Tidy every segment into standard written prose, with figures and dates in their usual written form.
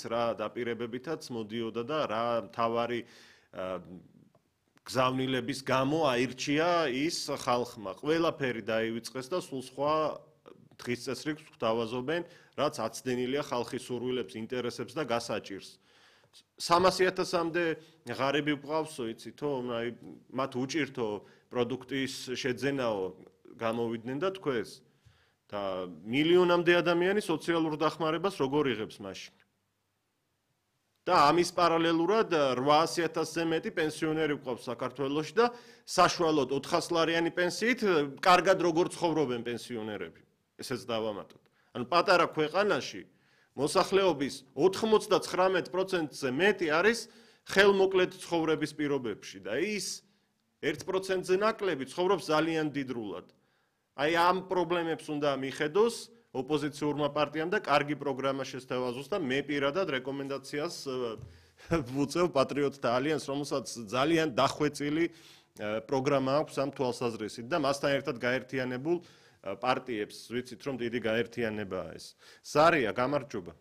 რა დაპირებებითაც მოდიოდა და რა თავარი გზავნილების გამო აირჩია ის ხალხმა. ყველაფერი დაივიწყეს და სულ სხვა დღის წესრიგს გვთავაზობენ, რაც აცდენილია ხალხის სურვილებს, ინტერესებს და გასაჭირს. 300,000-მდე ღარიბი გვყავსო, იცითო, მათ უჭირთო პროდუქტის შეძენაო გამოვიდნენ და თქვეს და მილიონამდე ადამიანი სოციალურ დახმარებას როგორ იღებს მაშინ? და ამის პარალელურად 800,000-ზე მეტი პენსიონერი გვყავს საქართველოში და საშუალოდ 400-ლარიანი პენსიით კარგად როგორ ცხოვრობენ პენსიონერები. ესეც დავამატოთ. ანუ პატარა ქვეყანაში მოსახლეობის 99%-ზე მეტი არის ხელმოკლედ ცხოვრების პირობებში და ის 1%-ზე ნაკლები ცხოვრობს ძალიან დიდრულად. აი ამ პრობლემებს უნდა მიხედოს ოპოზიციურმა პარტიამ და კარგი პროგრამა შესთავაზოს და მე პირადად რეკომენდაციას ვუწევ პატრიოტთა ალიანსს, რომელსაც ძალიან დახვეწილი პროგრამა აქვს ამ თვალსაზრისით და მასთან ერთად გაერთიანებულ პარტიებს ვიცით რომ დიდი გაერთიანებაა ეს. სარია, გამარჯობა.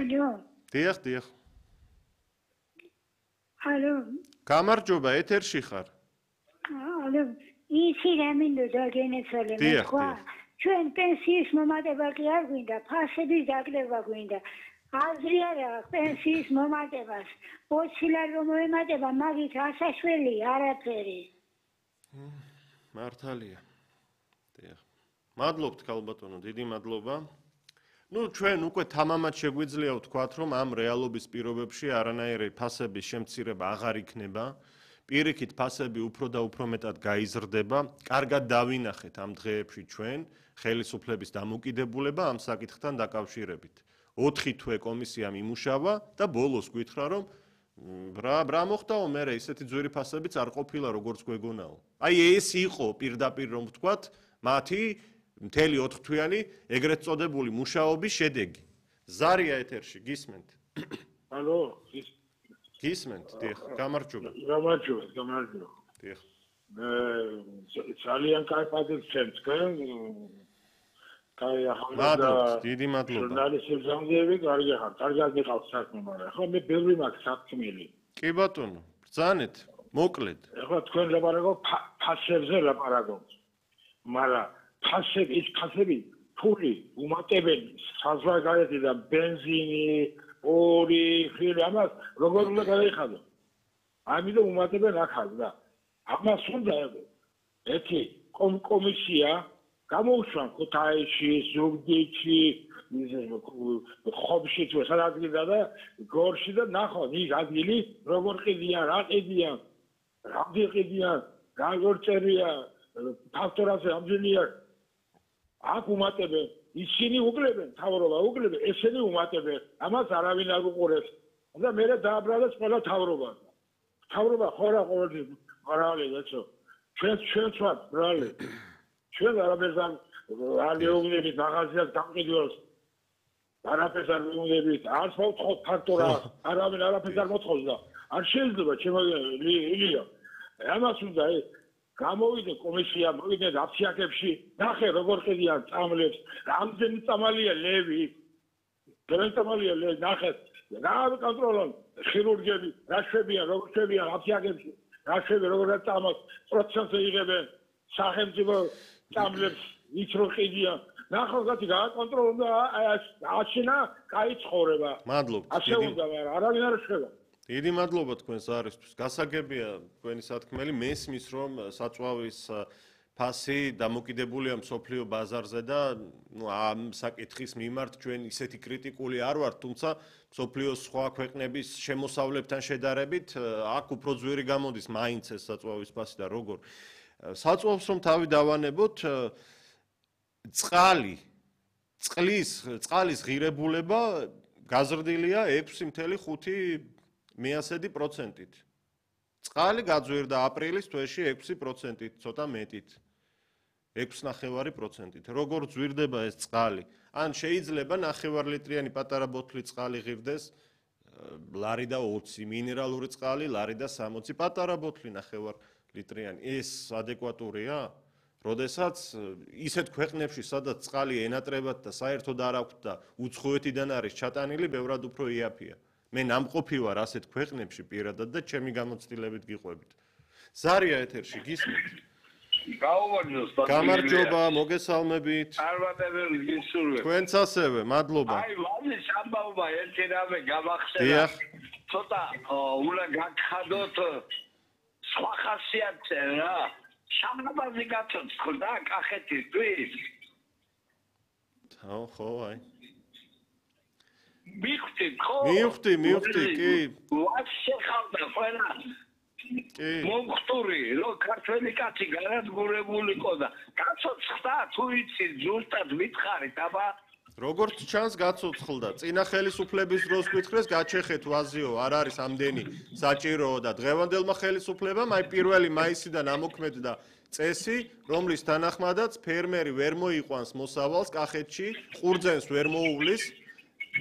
ალო. დიახ. ალო. გამარჯობა, ეთერში ხარ. ალო, ისი რამინდოდა გენეცალე მეკვა. ჩვენ პენსიის მომატება კი არ გვინდა, ფასების დაკლება გვინდა. აზრი არ აქვს პენსიის მომატებას. 20 ლარი რომ მოემატება, მაგით ასაშველი არაფერი. მართალია. დიახ. მადლობთ ქალბატონო, დიდი მადლობა. ჩვენ უკვე თამამად შეგვიძლია ვთქვათ, რომ ამ რეალობის პირობებში არანაირი ფასების შემცირება აღარ იქნება. პირიქით ფასები უფრო და უფრო მეტად გაიზრდება. კარგად დავინახეთ ამ დღეებში ჩვენ ხელისუფლების დამოკიდებულება ამ საკითხთან დაკავშირებით. 4 თვე კომისიამ იმუშავა და ბოლოს გითხრა, რომ რა მოხდაო, მე ისეთი ძვირი ფასებიც არ ყოფილა, როგორც გვეგონაო. აი ეს იყო პირდაპირ რომ ვთქვათ, მათი მთელი 4 თვიანი ეგრეთ წოდებული მუშაობის შედეგი. ზარია ეთერში, გისმენთ? ალო, გისმენთ, დიახ, გამარჯობა. გამარჯობა. დიახ. ძალიან კაი პატივცემთ თქვენ. კაი ახლა დიდი მადლობა. ჟურნალისტებს ამგები, კარგად მიყავს საქმე, მაგრამ ხო მე ბევრი მაქვს საქმელი. კი ბატონო, ბრძანეთ, მოკლედ. ახლა თქვენ ლაპარაკობთ ფასებზე ლაპარაკობთ. მაგრამ ფასები ფული უმატებენ საზღვარგარეთიდან ბენზინი, ორი, ხილი, ამას როგორ უნდა გადაიხადო? ამიტომ უმატებენ ახალ და ამას უნდა ერთი კომისია გამოუშვა ქუთაისში, ზუგდიდში, ხობში თუ სადაც და გორში და ნახო ის ადგილი როგორ ყიდიან, რა ყიდიან, რამდენი ყიდიან, როგორ წერია, ფაქტორაზე ამჯერია აქ უმატებენ, ისინი უკლებენ, თავრობა უკლებენ, ესენი უმატებენ, ამას არავინ არ უყურებს. და მე დააბრალეს ყველა თავრობა. თავრობა ხორა ყოველთვის მრავალი ეცო. ჩვენ ვართ მრავალი. ჩვენ არაფერს არ მეუბნებით მაღაზიას დამყიდველს. არაფერს არ მეუბნებით, არც მოთხოვთ ფაქტორა, არავინ არაფერს არ მოთხოვს და არ შეიძლება ჩემო ამას უნდა გამოვიდე კომისია, მოვიდე აფსიაქებში, ნახე როგორ ყიდიან წამლებს, რამდენი წამალია ლევი. გერენტამალია ლევი, ნახე, რა კონტროლონ ხირურგები, რა შვებიან, როგორ შვებიან აფსიაქებში, რა შვები, როგორ წამალს პროცენტზე იღებენ, სახელმწიფო წამლებს ის რო ყიდიან. ნახო გათი გააკონტროლონ და აშინა კაი ცხოვრება. მადლობთ. ასე უნდა, მაგრამ არავინ არ შვება. დიდი მადლობა თქვენს არისთვის. გასაგებია თქვენი სათქმელი, მესმის რომ საწვავის ფასი დამოკიდებულია მსოფლიო ბაზარზე და ამ საკითხის მიმართ ჩვენ ისეთი კრიტიკული არ ვართ, თუმცა მსოფლიოს სხვა ქვეყნების შემოსავლებთან შედარებით აქ უფრო ძვირი გამოდის მაინც ეს საწვავის ფასი და როგორ. საწვავს რომ თავი დავანებოთ წყლის ღირებულება გაზრდილია 6.5%-ით. წყალი გაძვირდა აპრილის თვეში 6%-ით, ცოტა მეტით. 6.5%-ით. როგორ ძვირდება ეს წყალი? ან შეიძლება 9 ლიტრიანი პატარა ბოთლი წყალი ღირდეს ლარი და 20, მინერალური წყალი ლარი და 60, პატარა ბოთლი 9 ლიტრიანი. ეს ადეკვატურია? როდესაც ისეთ ქვეყნებში, სადაც წყალი ენატრებად და საერთოდ არ აქვს და უცხოეთიდან არის ჩატანილი, ბევრად უფრო იაფია. მე ნამყოფი ვარ ასეთ ქვეყნებში პირადად და ჩემი გამოცდილებით გიყვებით. ზარია ეთერში გისმენთ? გამარჯობა, მოგესალმებით. წარმატებები გისურვებ. თქვენც ასევე, მადლობა. აი, ვაზის ამბავმა ერთი რამე გამახსენა. ცოტა უნდა გაგხადოთ სხვა ხასიათზე რა. შამაბაზი გაწოცხლდა კახეთისთვის. ხო, აი. მივხვდით, ხო? მივხვდი, კი. ვაც შეხავდა ყველა. კი. მომხტური, რომ ქართველი კაცი განადგურებულიყო და გაწოცხლდა, თუ იცი, ზუსტად მითხარით, აბა როგორც ჩანს გაწოცხლდა. წინა ხელისუფლების დროს გითხრეს გაჩეხეთ ვაზიო, არ არის ამდენი საჭირო და დღევანდელმა ხელისუფლებამ აი 1 მაისიდან ამოქმედდა წესი, რომლის თანახმადაც ფერმერი ვერ მოიყვანს მოსავალს კახეთში, ყურძენს ვერ მოუვლის,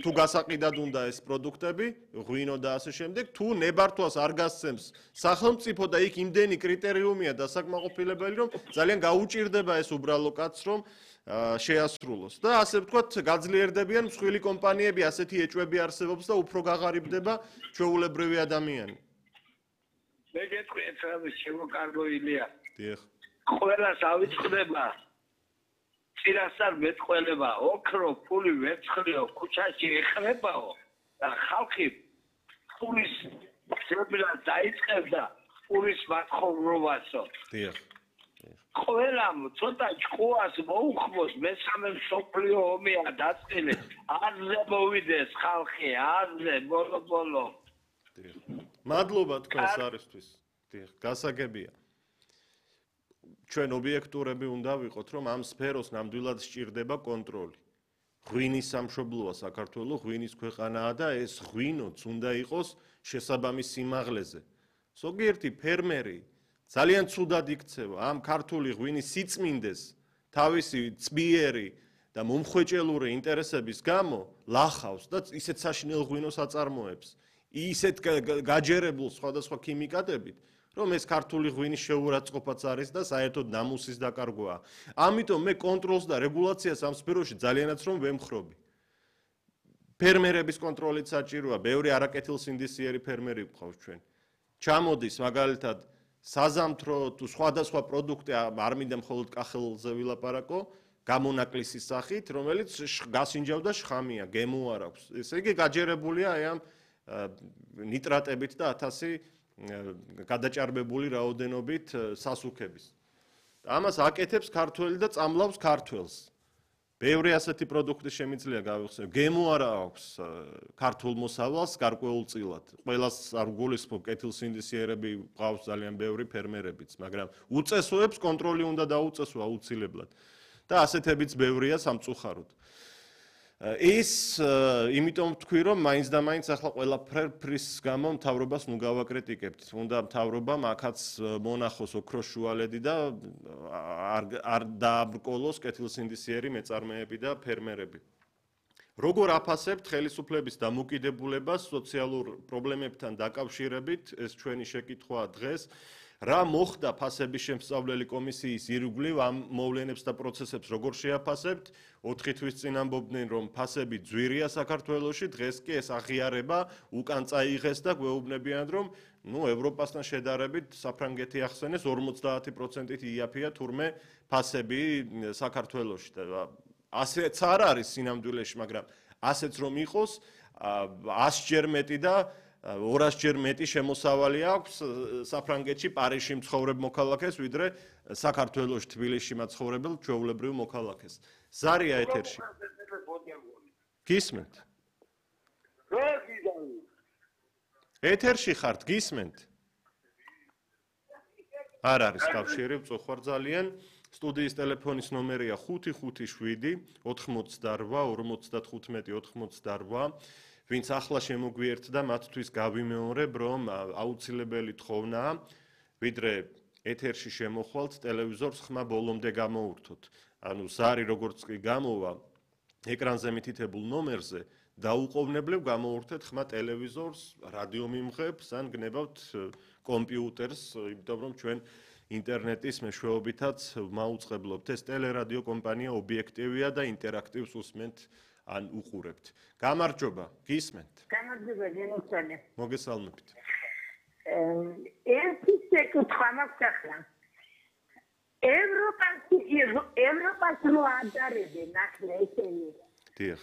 თუ გასაყიდად უნდა ეს პროდუქტები, ღვინო და ასე შემდეგ, თუ ნებართვას არ გასცემს სახელმწიფო და იქ იმდენი კრიტერიუმია დასაკმაყოფილებელი, რომ ძალიან გაუჭირდება ეს უბრალო კაცს, რომ შეასრულოს. და ასე ვთქვათ, გაძლიერდებიან მსხვილი კომპანიები, ასეთი ეჭვები არსებობს და უფრო გაღარიბდება ჩვეულებრივი ადამიანი. მე გეტყვი ეს რამე შემოკარგო ილია. დიახ. ყველას ავიწყდება წინასწარ მეტყველება, ოქრო, ფული ვერცხლიო, ქუჩაში ეხლებაო და ხალხი ფულის ძებნას დაიწყებდა ფულის მათხოვრობასო. დიახ. ყველამ ცოტა ჭკუას მოუხმოს მესამე მსოფლიო ომია დაწყილი. არზე მოვიდეს ხალხი, არზე ბოლო. დიახ. მადლობა თქვენს არისთვის. დიახ, გასაგებია. ჩვენ ობიექტურები უნდა ვიყოთ, რომ ამ სფეროს ნამდვილად სჭირდება კონტროლი. ღვინის სამშობლოა საქართველო, ღვინის ქვეყანაა და ეს ღვინოც უნდა იყოს შესაბამის სიმაღლეზე. ზოგიერთი ფერმერი ძალიან ცუდად იქცევა ამ ქართული ღვინის სიწმინდეს თავისი წბიერი და მომხვეჭელური ინტერესების გამო ლახავს და ისეთ საშინელ ღვინოს აწარმოებს. ისეთ გაჯერებულ სხვადასხვა ქიმიკატებით, რომ ეს ქართული ღვინის შეურაცხყოფაც არის და საერთოდ ნამუსის დაკარგვაა. ამიტომ მე კონტროლს და რეგულაციას ამ სფეროში ძალიანაც რომ ვემხრობი. ფერმერების კონტროლით საჭიროა, ბევრი არაკეთილსინდისიერი ფერმერი გვყავს ჩვენ. ჩამოდის მაგალითად საზამთრო თუ სხვადასხვა პროდუქტი არ მინდა მხოლოდ კახელზე ვილაპარაკო, გამონაკლისის სახით, რომელიც გასინჯავდა შხამია, გემო არ აქვს. ესე იგი გაჯერებულია აი ამ ნიტრატებით და 1000 გადაჭარბებული რაოდენობით სასუქების. ამას აკეთებს ქართველი და წამლავს ქართველს. ბევრი ასეთი პროდუქტი შემიძლია გავიხსენო. გემო არა აქვს ქართულ მოსავალს გარკვეულწილად. ყველას არ გულისხმობ, კეთილსინდისიერები ყავს ძალიან ბევრი ფერმერებიც, მაგრამ უწესოებს კონტროლი უნდა დაუწესო აუცილებლად. და ასეთებიც ბევრია სამწუხაროდ. ის იმიტომ ვთქვი, რომ მაინც და მაინც ახლა ყველაფრის გამო მთავრობას ნუ გავაკრიტიკებთ. უნდა მთავრობამ აქაც მონახოს ოქროს შუალედი და არ დააბრკოლოს კეთილსინდისიერი მეწარმეები და ფერმერები. როგორ აფასებთ ხელისუფლების დამოკიდებულებას სოციალურ პრობლემებთან დაკავშირებით, ეს ჩვენი შეკითხვაა დღეს. რა მოხდა ფასების შემსწავლელი კომისიის ირგვლივ ამ მოვლენებს და პროცესებს როგორ შეაფასებთ? 4 თვის წინ ამბობდნენ, რომ ფასები ძვირია საქართველოში, დღეს კი ეს აღიარება უკან წაიღეს და გვეუბნებიან, რომ ევროპასთან შედარებით საფრანგეთი ახსენეს 50%-ით იაფია თურმე ფასები საქართველოში. ასეც არ არის სინამდვილეში, მაგრამ ასეც რომ იყოს 100-ჯერ მეტი და 200-ჯერ მეტი შემოსავალი აქვს საფრანგეთში პარიზში მცხოვრებ მოქალაქეს, ვიდრე საქართველოში თბილისში მაცხოვრებელ ჩვეულებრივ მოქალაქეს. ზარია ეთერში. გისმენთ? ეთერში ხართ, გისმენთ? არ არის კავშირი, წოხვარ ძალიან. სტუდიის ტელეფონის ნომერია 557 88 55 88. ვინც ახლა შემოგვიერთდა, მათთვის გავიმეორებ, რომ აუცილებელი თხოვნაა, ვიდრე ეთერში შემოხვალთ, ტელევიზორს ხმა ბოლომდე გამოურთოთ. ანუ ზარი როგორც კი გამოვა ეკრანზე მითითებულ ნომერზე, დაუყოვნებლივ გამოურთეთ ხმა ტელევიზორს, რადიომიმღებს ან გნებავთ კომპიუტერს, იმიტომ რომ ჩვენ ინტერნეტის მეშვეობითაც მაუწყებლობთ. ეს ტელერადიო კომპანია ობიექტივია და ინტერაქტივს უსმენთ ან უყურებთ. გამარჯობა, გისმენთ. გამარჯობა, გენოცხადე. მოგესალმებით. ერთი შეკითხვა მაქვს ახლა. ევროპას რო ადარებენ ახლა ესენი. დიახ.